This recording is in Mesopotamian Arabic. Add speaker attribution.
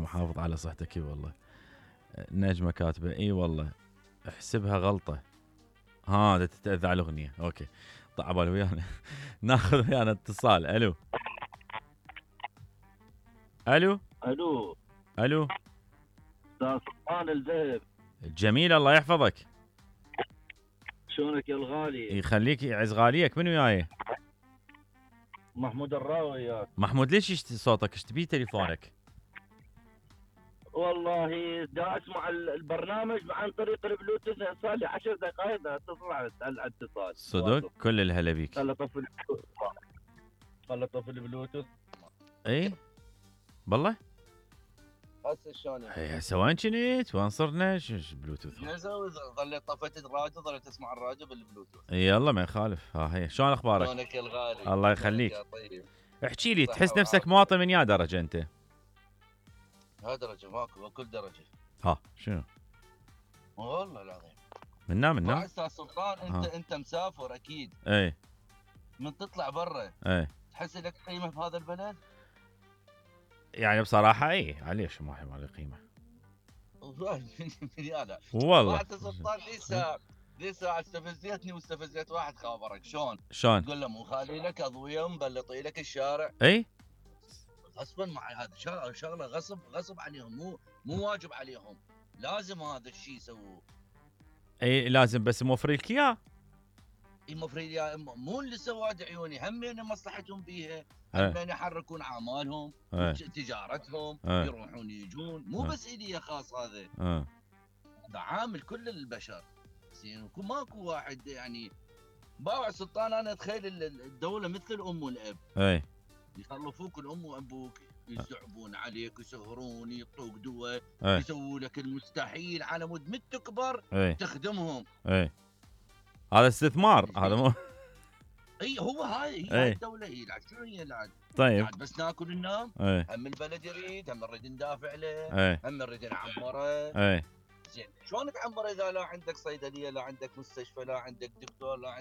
Speaker 1: محافظ على صحتك اي والله. نجمة كاتبة اي والله احسبها غلطة. ها تتأذى على الاغنية. اوكي طيب عبالي ويانا. ناخذ ويانا اتصال. الو الو
Speaker 2: الو
Speaker 1: الو
Speaker 2: استاذ سلطان الذهب.
Speaker 1: جميل الله يحفظك.
Speaker 2: شلونك يا الغالي؟
Speaker 1: يخليك يعز غاليك. من وياي؟
Speaker 2: محمود الراوي وياك.
Speaker 1: محمود ليش صوتك ايش تبي تليفونك؟
Speaker 2: والله دا اسمع البرنامج عن طريق البلوتوث صار لي 10 دقائق دا اتصل على الاتصال.
Speaker 1: صدق كل الهلا بيك.
Speaker 2: خل اطفي البلوتوث.
Speaker 1: اي والله
Speaker 2: هسه شلون
Speaker 1: هي سواء كنت وين صرنا بلوتوث
Speaker 2: ظليت طفيت الراديو ظليت اسمع الراديو بالبلوتوث.
Speaker 1: يلا ما يخالف. ها هي شلون اخبارك؟
Speaker 2: شلونك يا الغالي؟
Speaker 1: الله يخليك.
Speaker 2: طيب
Speaker 1: احكي لي تحس نفسك مواطن من يا درجه انت؟
Speaker 2: ها درجه ماكو كل درجه.
Speaker 1: ها شنو؟
Speaker 2: والله العظيم
Speaker 1: منا
Speaker 2: استاذ سلطان انت مسافر اكيد.
Speaker 1: اي
Speaker 2: من تطلع برا
Speaker 1: اي
Speaker 2: تحس لك قيمه بهذا البلد؟
Speaker 1: يعني بصراحه اي ليش ما له قيمه
Speaker 2: والله انت سلطان لي ساعه استفزيتني واستفزيت واحد خابرك شلون تقول له مو خالي لك اضويه مبلطي لك الشارع.
Speaker 1: اي
Speaker 2: غصبا مع هذا شغله غصب عليهم مو واجب عليهم لازم هذا الشيء يسووه.
Speaker 1: اي لازم بس موفر لك اياه.
Speaker 2: موفر مو اللي سواد عيوني همين مصلحتهم بيها همين يحركون اعمالهم تجارتهم يروحون يجون مو بس الي خاص هذا عامل كل البشر. زين ماكو واحد يعني باوع سلطان انا اتخيل الدوله مثل الام والاب.
Speaker 1: اي
Speaker 2: يخلفوك الام وابوك يزعبون عليك يسهرون يعطوك دواء يسووا لك المستحيل على مود مت تكبر تخدمهم.
Speaker 1: اي هذا استثمار هذا مو
Speaker 2: اي هو هاي الدوله هي العاد شنو هي العاد؟
Speaker 1: طيب
Speaker 2: بس ناكل وننام. هم البلد يريد هم نريد ندافع له هم نريد نعمره. زين شلون تعمر اذا لا عندك صيدليه لا عندك مستشفى لا عندك دكتور لا عندك